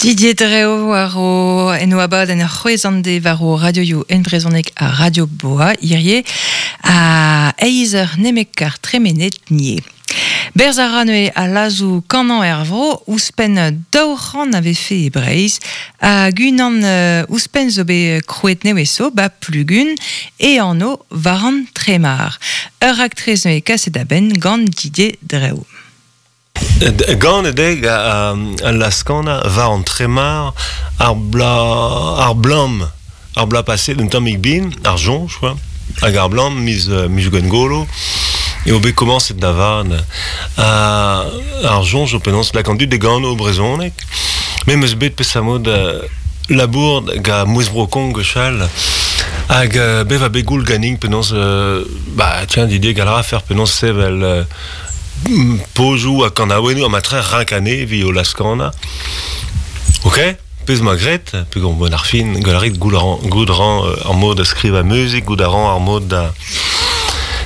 Didier Dreo war o en o abadenn c'hwezh an de war o radioioù en brezhoneg ha Radio Boa hirie a eizh eur nemet kar tremenet nie. Berzh a ra neuze al lazoù kanañ er vro ouzhpenn 200 a vefe e Breizh hag unan ouzhpenn zo bet krouet nevez zo ba Plugun e anv war an Tremar. Ur raktres neuze kaset a-benn gant Didier Dreo. Ganet eo al laz-kanañ war an Tremar ar bla ar blam ar bloaz paset un tammig bihan, ar soñj quoi, hag ar blam miz Gwengolo eo bet komañset da vat. Ar soñj zo penaos lak an dud da gano brezhoneg. Me 'm eus bet peseurt mod labour gant Mouezh Bro-Kong gwechall hag bet va bet goul ganin penaos bah tiens Didier gall a rafer penaos sevel Pozioù ha kanaouennoù ha matre renk anezhe evit o laz-kanañ. Ok, pezh 'ma graet, peogwir bon ar fin, gant a rit goût a ran ar mod da skrivañ muzik, goût a ran ar mod da...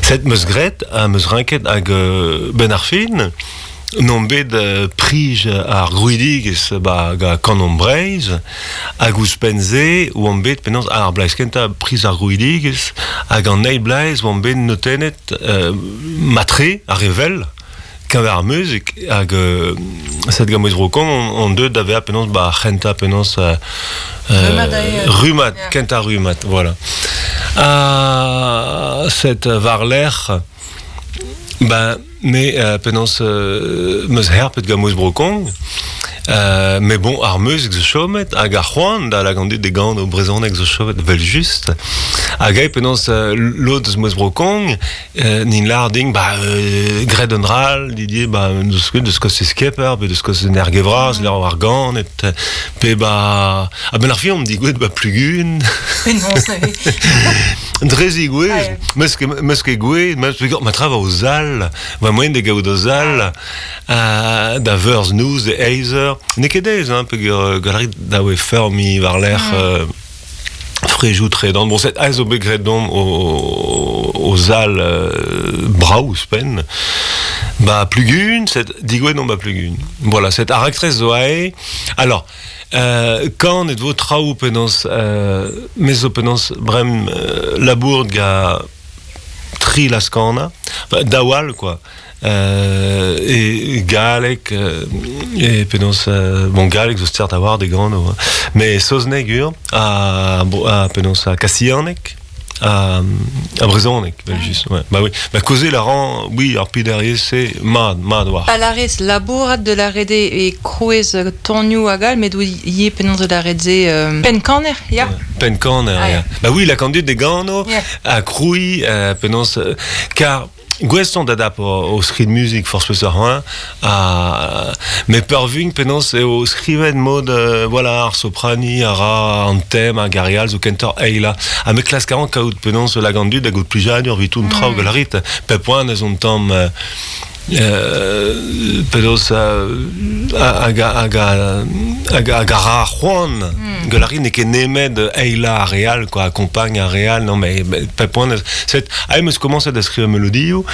Set 'meus graet ha 'meus renket hag benn ar fin, n'on bet prij ar grouidigezh ba gant Kanomp Breizh hag ouzhpenn-se oan bet penaos ar bloaz kentañ priz ar grouidigezh hag an eil bloaz oan bet notennet matre ar re well keñver ar muzik hag set gant Mouezh Bro-Kong on deuet da vezañ penaos ba ar c'hentañ penaos rummad kentañ rummad voilà ha set war-lerc'h ben me penaos 'meus herpet gant Mouezh Bro-Kong met bon ar muzik zo chomet hag ar c'hoant da lak an dud da gano brezhoneg zo chomet evel-just hag eo penaos lod eus Mouezh Bro-Kong n'int lâr din ba graet un dra all Didier ba deus ket deus kostez Kemper pe deus kostez an Erge-Vras lec'h ar ganet pe ba a-benn ar fin omp digouezhet ba Plugun. Penaos neuze? Dre zigouezh 'meus ket gouezet ma tra 'vo sal va moaien da gaout o sal da veurzh noz da eizh eur. N'eo ket aes hein, peogwir gant a rit da oe feurmiñ war-lerc'h frejoù tredan. Bon, set aes zo bet graet deomp o sal brav ouzhpenn. Ba Plugun, set digouezet omp ba Plugun. Voilà, set ar raktres zo aze. Alors, kanet vo traoù penaos me zo penaos brem labour ga tri laz-kanañ, daou all quoi. E galleg, e penaos bon galleg zo start a-walc'h de gano, hein. Mais saozneg ur ha penaos ha kastillaneg ha brezhoneg evel-just. Ouais. Bah oui, bah kaozeal a ran, oui, ar pederriez-se mat, mat war. Pa lârez labourat de la rede e krouez tonioù hag all, met ivez penaos de la rede penn-kaner, ya? Penn-kaner, ya. Bah oui, la kandid de gano ha krouiñ penaos kar gouest on da dap o skrid muzik forzh peseurt hañ ha met peurvuiñ penaos eo skrivet mod voilà ar soprani a ra an tem hag ar re all zo kentoc'h eilañ ha me klask a ran kaout penaos lak an dud da gaout plijadur evit tout an traoù gant rit pep poent ez on tamm penaos hag hag hag hag a ra c'hoant gant ar re n'eo ket nemet eilañ ar re all quoi accompagne ar re all non mais pep poent set ah, em eus komañset da skrivañ melodioù.